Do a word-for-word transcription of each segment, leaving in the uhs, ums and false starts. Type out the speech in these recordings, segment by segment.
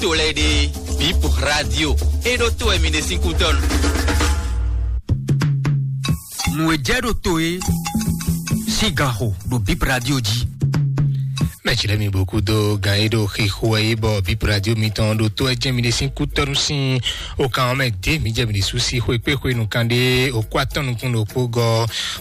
To lɛ́ɛ ɖe, Bip Radio, é ɖó to wɛ mi ɖe sín kútɔ́nu. Nǔ e jɛ ɖo to é sín gan xo ɖo Bip Radio jí. Mɛ tsi lɛ mi bɔ kúdó gan e ɖo xixo wɛ yi bɔ Bip Radio mitɔn ɖo to ɛ jɛ mi ɖe sín kútɔ́nu sín o kan ɔ́ mɛ dé mi jɛ mi ɖe sú sí xwe kpé xwe nukán ɖé o kó atɔ́ nukún ɖokpó gɔ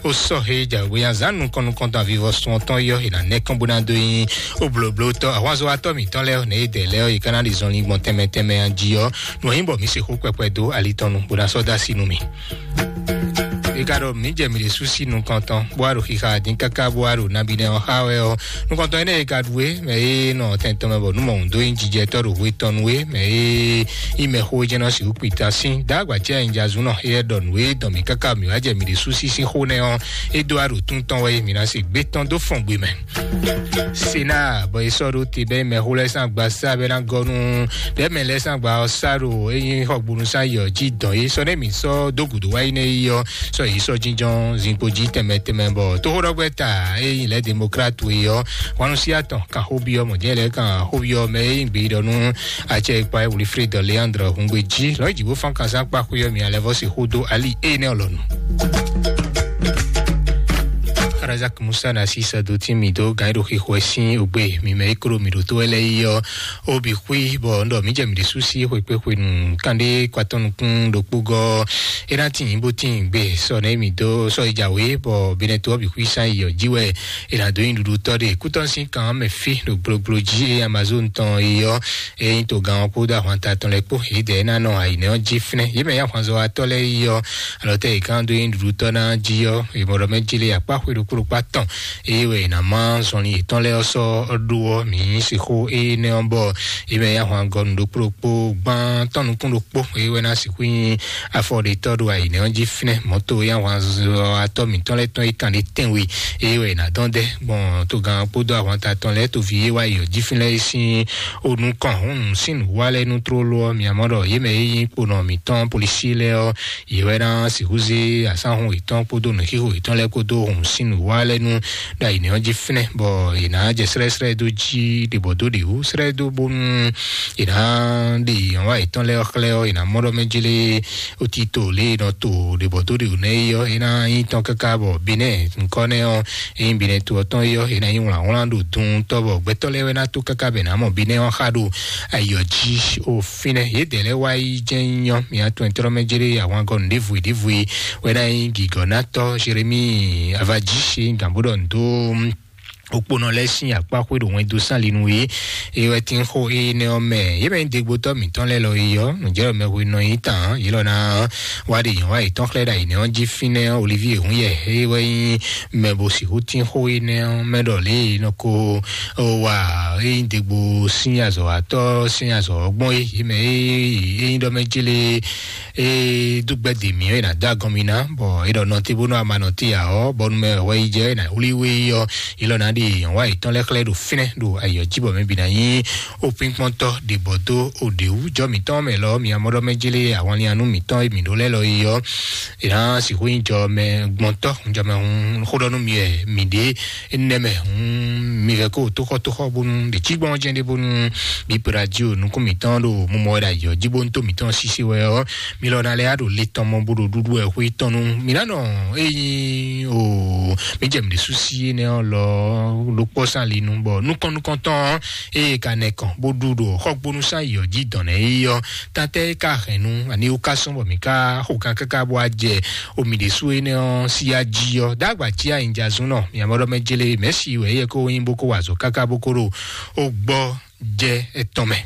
o sɔ he jagbe ya zan nukɔn nukɔn tɔn avivɔ sun ɔtɔn yɔ e na nɛ kɔn bó ná dó nyi o blóbló tɔ ahwanzɔwatɔ mitɔn lɛ ne e dɛ lɛ yi kana ɖi zɔnlin gbɔn tɛmɛ tɛmɛ ya ji ɔ nɔ nyi bɔ mi se xó kpɛkpɛ dó ali tɔn nu bó ná sɔ dó asi nú mi. E ka ɖɔ mǐ jɛ mǐ ɖésú sí nukɔn tɔn, bó wá ɖo xixa dín káká, bó wá ɖo nabínɛ ɔ́ xá wɛ ɔ́, nukɔntɔn énɛ́ e ka ɖu é, mɛ e nɔ tɛn tɔn mɛ bɔ nǔ mɔ̌hun dó nyí jijɛtɔ́ ɖo hwe tɔn nu é, mɛ e nyí mɛxó e jɛ́n nɔ sixú kpita sín, dó agba cɛ nyi jazu nɔ, éyɛ́ ɖɔ nǔ e dɔn mǐ káká mǐ wá jɛ mǐ ɖésú sí sín xó nɛ́ ɔ́, é dó wá ɖo tún tɔn wɛ, mǐ ná se gbé tɔn dó fɔn gbe mɛ. Sena bɔ è sɔ́ ɖó te bɛ́ mɛxó lɛ́ɛ sín agbaza bɛ́ ná gɔ́ nú ɖɛ̌mɛ lɛ́ɛ sín agba ɔ́ sá ɖo é nyí xɔgbónú sín ayǐ ɔ́ jí dɔn é sɔ́ nɛ́ mǐ sɔ́ dó gǔdo wá yi nɛ́ yi ɔ́, sɔ́ yě sɔ́ jínjɔ́n zinkpo jí tɛnmɛ tɛnmɛ bɔ tóxóɖɔgbɛ́ta e nyí lɛ̌ demokrat e ɔ́, hwanu sí atɔn kan xóbyɔ́ mɔ̌ jɛ́n lɛ́ɛ kan xóbyɔ́ mɛ e nyí gbeyíɖɔ nú acɛ e kpa Wilfred Leandre Hungbe jí lɔ̌ jǐ bó fán kan sín akpa xwé ɔ́ mi alɛvɔ́ se xó dó ali énɛ́ ɔ́ lɔnu. Razak Musa na si sɛ do tí mi dó gǎn ɖo xixo ɛ sín ògbé mi mɛ é klo mi ɖo tó ɛ lɛ yi ɔ́, ó bǐ xwí bɔ un ɖɔ mǐ jɛ mǐ ɖésú sí xwekpéxwenu kanɖé kɔatɔ́ nukún ɖokpó gɔ́ é ná tín bó tín gbé sɔ nɛ́ mǐ dó sɔ yi jǎwe bɔ benɛto ɔ́ bǐ xwí sán yi ɔ́ jí wɛ è nǎ dó nyi ɖuɖu tɔ́ ɖe kútɔ́ sín kan mɛ fí ɖo gblogblo jí é Amazon tɔn yi ɔ́, é nyí togán ɔ́ kpódó ahwanta tɔn lɛ́ɛ kpó yědɛɛ ná nɔ ayǐnɛ́ ɔ́ jí fínɛ́. Yě mɛ nyí ahwanzɔ́watɔ́ lɛ́ɛ yi ɔ́, alɔ tɛ yě kán dó nyí ɖuɖutɔ́ ná jí ɔ́, è mɔ ɖɔ mɛ jí lé akpá xwé ɖokpó ɖokpó atɔn, eye wɛ è nǎ má zɔnlin yětɔn lɛ́ɛ ɔ́ sɔ́ ɖó ɔ́, mǐ sixú énɛ́ ɔ́ bɔ yě mɛ nyí ahwangɔnu ɖokpó ɖokpó gbán tɔn nukún ɖokpó, eye wɛ ná sixú nyí afɔɖetɔ́ ɖo ayǐnɛ́ ɔ́ jí fínɛ́. Mɔ̌to e nyí ahwanzɔ́watɔ́ mǐtɔn lɛ́ɛ tɔn é kan ɖé tɛ́nwe, eye wɛ è nǎ dɔn dɛ́ gbɔn togán kpódó ahwanta tɔn lɛ́ɛ toví e wá yi ɔ́ jí fínɛ́ é sín o nukɔn hǔn sín nǔwa lɛ́ɛ nú tlóló ɔ́, mi mɔ ɖɔ yě mɛ e nyí kponɔ mǐtɔn polisí lɛ́ɛ ɔ́, yě wɛ ná sixú zé asánhun yětɔn kpódó nǔxixo yětɔn lɛ́ɛ kpódó hǔn sín nǔwa lɛ́ɛ nú ɖo ayǐnɛ́ ɔ́ jí fínɛ́, bɔ yě ná jɛ srɛ́srɛ́ dó jí ɖě bɔ dó ɖě wú srɛ́ dó bónú yě ná ɖe yǐhɔ́nwá yětɔn lɛ́ɛ xlɛ́ ɔ́, yě ná mɔ ɖɔ mɛ jlé otito lě e nɔ to ɖě bɔ dó ɖě wú nɛ́ é ɔ́, é ná nyí tɔn káká bɔ Benɛ́ɛ nukɔn nɛ́ ɔ́, é nyí Benɛ́ɛ to ɔ́ tɔn é ɔ́, é ná nyí wlǎnwlán ɖo dun tɔ́ bɔ gbɛtɔ́ lɛ́ɛ wɛ ná tó káká bɔ è nǎ mɔ Benɛ́ɛ ɔ́ xá ɖo ayǐ ɔ́ jí. O fínɛ́ yědɛɛ lɛ́ɛ wá yi jɛ́n nyɔ́ mia tɔn tɔ́rɔ́ mɛ jlé ahwangɔ́ nǔɖévú ɖěvú wɛ ná nyí gǐgɔ́nátɔ́ Jeremíi Avají e nyí gǎnbóɖɔ ndo okponɔ lɛ́ɛ sín akpá xwé ɖo wɛn dó sán linu é é wɛ tín xó énɛ́ ɔ́ mɛ. Yě mɛ nyí dégbótɔ́ mǐtɔn lɛ́ɛ lɔ é ɔ́, nǔjɛ́ɖɔ mɛhwe nɔ nyi tán yě lɔ ná wá ɖe nyɔ̌ wá yětɔn xlɛ́ ɖo ayǐnɛ́ ɔ́ jí fínɛ́ ɔ́, Olivíe Húnyɛ é wɛ nyí mɛ bo sixú tín xó énɛ́ ɔ́ mɛ ɖɔ lě e nɔ ko wa é nyí degbo sín azɔ̌watɔ́ sín azɔ̌ ɔ́ gbɔn é. Yě mɛ é é nyí ɖɔ mɛ jélé é dó gbɛ́ dě mǐ ɔ́, è nǎ dó agɔn mì ná, bɔ é ɖɔ nɔtí bónú a ma nɔtí ǎ ɔ́, bɔnú mɛ wɛ yi jɛ é nǎ wlí wé yi ɔ́, é lɔ nǎ ɖi nyɔ̌ wá yětɔn lɛ́ɛ xlɛ́ ɖo fínɛ́ ɖo ayǐ ɔ́ jí bɔ mɛ bǐ ná nyí opínkpɔ́ntɔ́ ɖě bɔ dó òɖě wú jɔ mǐtɔn mɛ lɔ mi amɔɖɔ mɛ jélé ahwanlianu mǐtɔn e mǐ ɖó lɛ́ lɔ yi ɔ́, è nǎ sixú nyí jɔ mɛ gbɔntɔ́ jɔ mɛ hun xó ɖɔ nú mi wɛ mǐ ɖě énɛ́ mɛ hun mi vɛ kó tóxɔ́tóxɔ́ bónú ɖě cí gbɔn jɛ́n ɖé bónú bí pera jí o nukún mǐtɔn ɖo mumɔ wɛ ɖo ayǐ ɔ́ jí bónú tó mǐtɔn sísí wɛ ɔ́, mi lɔ ná lɛ́ ɖo le tɔn mɔ bó ɖo ɖuɖu wɛ xwé tɔn nu. Mi ná nɔ ényí o mi jɛ mi ɖésú sí énɛ́ ɔ́ lɔ ɖokpɔ́ sín ali nu, bɔ nukɔn nukɔntɔn ɔ́, eye ka nɛ kɔn bó ɖu ɖo xɔgbónú sín ayǐ ɔ́ jí dɔn nɛ́ yi ɔ́, tantɛ ka hɛn nu ani wú ka sɔn bɔ mi ka xo kan káká bó wá jɛ o mi ɖésú énɛ́ ɔ́ sí ya jí ɔ́, dó agba jí anyijazún nɔ mi amɔɖɔ mɛ jélé mɛ̌si wɛ yɛ kó nyí bó kó wa azɔ̌ káká bó kó ɖo o gbɔ jɛ etɔn mɛ.